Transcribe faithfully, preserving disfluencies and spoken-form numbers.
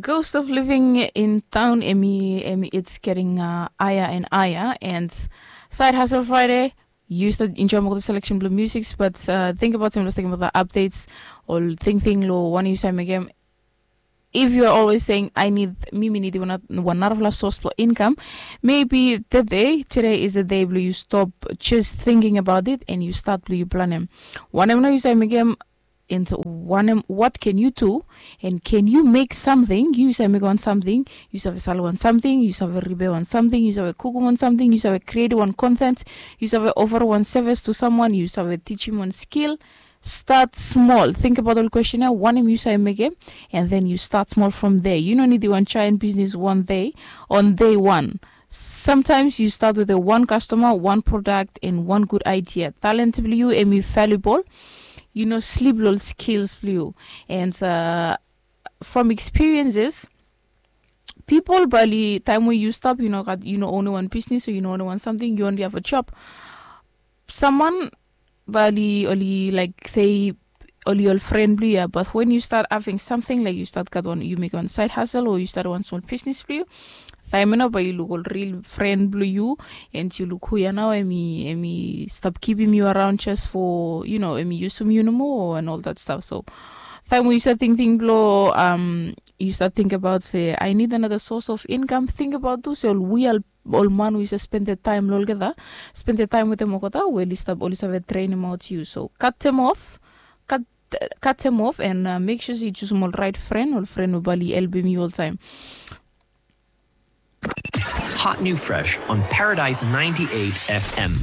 Ghost of living in town, emi emi it's getting uh, higher and higher, and side hustle Friday. You start enjoy more the selection blue musics, but uh, think about him, just think about the updates or think thing lo one you say again. If you are always saying I need mimi need one one narafla source for income, maybe today today is the day blue you stop just thinking about it and you start blue you plan him. One em no you say again, and wanem, what can you do? And can you make something? You save make one something. You save sell one something. You save repair one something. You save cook one something. You save create one content. You save offer one service to someone. You save teach him one skill. Start small. Think about all question ya. Wanem you save make him, and then you start small from there. You no need one giant business one day, on day one. Sometimes you start with a one customer, one product, and one good idea. Talent blue you emi valuable. You know sleep lol skills blue you. And uh, from experiences, people bali time where you stop, you know, got you know only one business or you know only one something, you only have a job. Someone bali only like say only all friend blue ya, but when you start having something like you start got one, you make one side hustle or you start one small business blue you, time enough but you look all real friend blue you, and you look who you now emi emi stop keeping you around just for you know emi use you no more and all that stuff. So time we start thinking blow um you start think about say I need another source of income. Think about those all we all all man we spend the time lo olgeta, spend the time with them okota we list up all have a train him out you. So cut them off, cut cut them off and uh, make sure you choose all right friend or friend who bali help me all time. Hot new fresh on Paradise ninety-eight F M.